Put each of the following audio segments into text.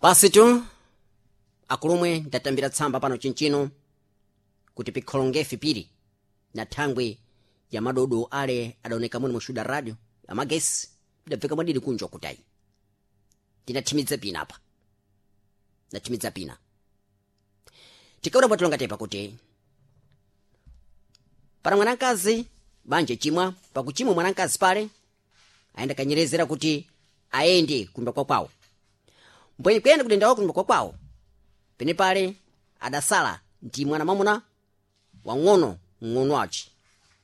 Pasitu akulumwe ndatambira tsamba pano chinchino kuti pikholongefi piri na thangwi ya madodo ale adaoneka mwene mushuda radio amagesi idabveka mwadidi kunjwa kutayi tinathimidza pina apa nathimidza pina tikaona bwatulonga tepa kuti para mwanakazi banje chimwa pakuchimwa mwanakazi pale ayenda kanyerezera kuti aende kumba kwa kwawo mbwenye kuyenda kudendawo kumba kwa kwawo pene pale adasala ndi mwana mwamuna wang'ono ng'ono ace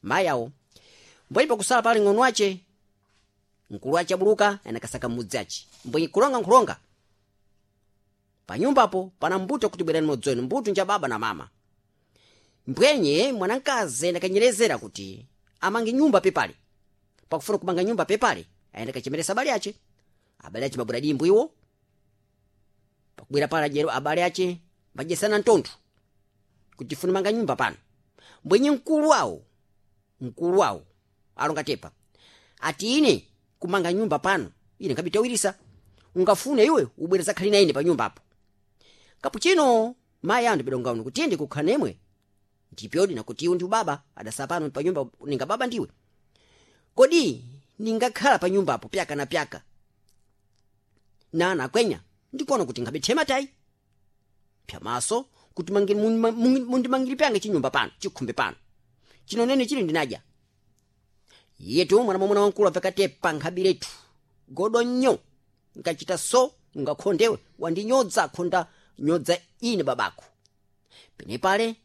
mayi awo mbwenye pakusala pale ng'ono ace mkulu ace abuluka anakasaka mmudzi ace mbwenye kulonga nkhulonga panyumbapo pana mbuto kuti bwerani modzi wenu mbuto nja baba na mama mbwenye mwanamkazi andakanyerezera kuti amange nyumba pepale pakufuna kumanga nyumba pepale ayenda kachemeresa abale ace abale ace mabwera dimbu iwo pakubwera pale ajero abale ace mbadyesana mtontho kuti tifune manga nyumba pano mbwenye mkulu wawo alonga tepa ati ine kumanga nyumba pano ine nkabitawirisa ungafune iwe ubwere zakhali na ine pa nyumba apo kapuchino mayi anu bidonga uno kuti ende kukhala nemwe ndipyodi nakuti iwe ndi ubaba adasa pano pa nyumba ninga baba ndiwe kodi ningakhala pa nyumba apo pyaka na pyaka nana akwenya ndikuona kuti nkhabithema tayi pyamaso kuti mundimangiri pyanga chinyumba pano chikhumbe pano chino nene chili ndinadya yetu mwana mwamuna wankulu apekatepa nkhabiretu godo nnyo nkachita so ngakhondewe wandinyodza khonda nyodza ine babako pene pale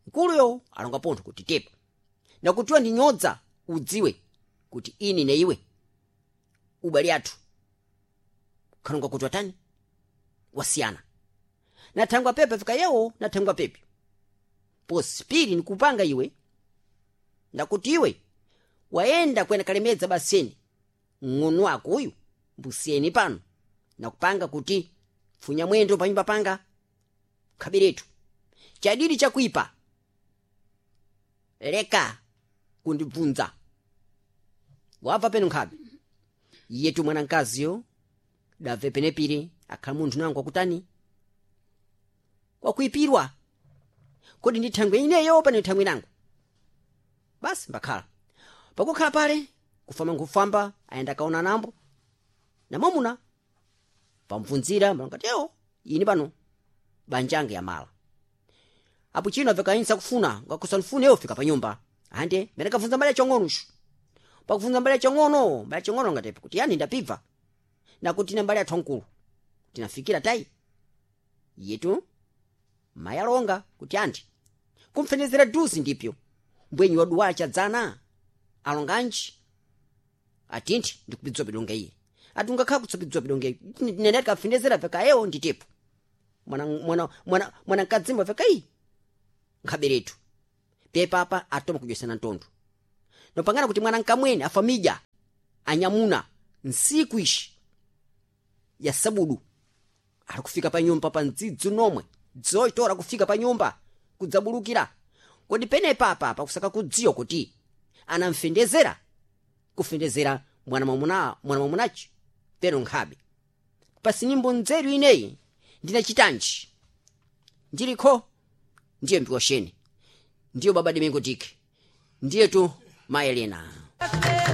mkuluyo alonga pontho kuti tepa nakutiwa ndinyodza udziwe kuti ine ne iwe ubali athu khalonga kuti watani wasiyana nathangwa pepe fika yewo nathangwa pepe posi pili nikupanga iwe ndakuti iwe wayenda kwena kalemedza baseni ng'ono wako uyu mbusiyeni pano nakupanga kuti pfunya mwendo panyumba panga khabiretu chadidi chakuipa leka kundibvunza wabva peno nkhabe iyetu mwana mkaziyo dabve penepiri akhala munthu nangu wakutani wakuipirwa kodi ndi thangwe ineyo pano thangwe nangu basi mbakhala pakukhala pale kufamba nkufamba ayenda akaona nambo namwamuna pamvunzira malongati ewo ini pano banjange yamala apo chino apeka kufuna ngakusanfune ewo fika panyumba ande mene kavunza mbali yachong'ono shu pakuvunza mbali yachong'ono mbali yachong'ono ngatepa kuti yani ndapibva nakuti na mbali yathu ankulu tinafikira tayi yetu mayalonga kuti andi kumfenezera duzi ndipyo mbwenyi waduwala chadzana alonganji atinthi ndikupidzwa pidonga iye ati ungakhala kutsopidzwa pidonga iye nene tikafenezera veka ewo nditepo mwana mwana mwana mwana mkadzimba veka iyi nkhaberetu pepapa atoma kudyesana ntondo nopangana kuti mwana nkamwene afamidya anyamuna nsiku ishi ya sabudu ali kufika pa nyumba pa mdzidzi nomwe dzoitora kufika pa nyumba kudzabulukira kodi penepapa pakusaka kudziwa kuti anamfendezera kufendezera mwana mwamuna mwana mwamunachi peno nkhabe pasinimbo nzeru ineyi ndinachitanji ndilikho ndiye mbikosheni ndiyo baba Domingo Diki ndiye tu maelena.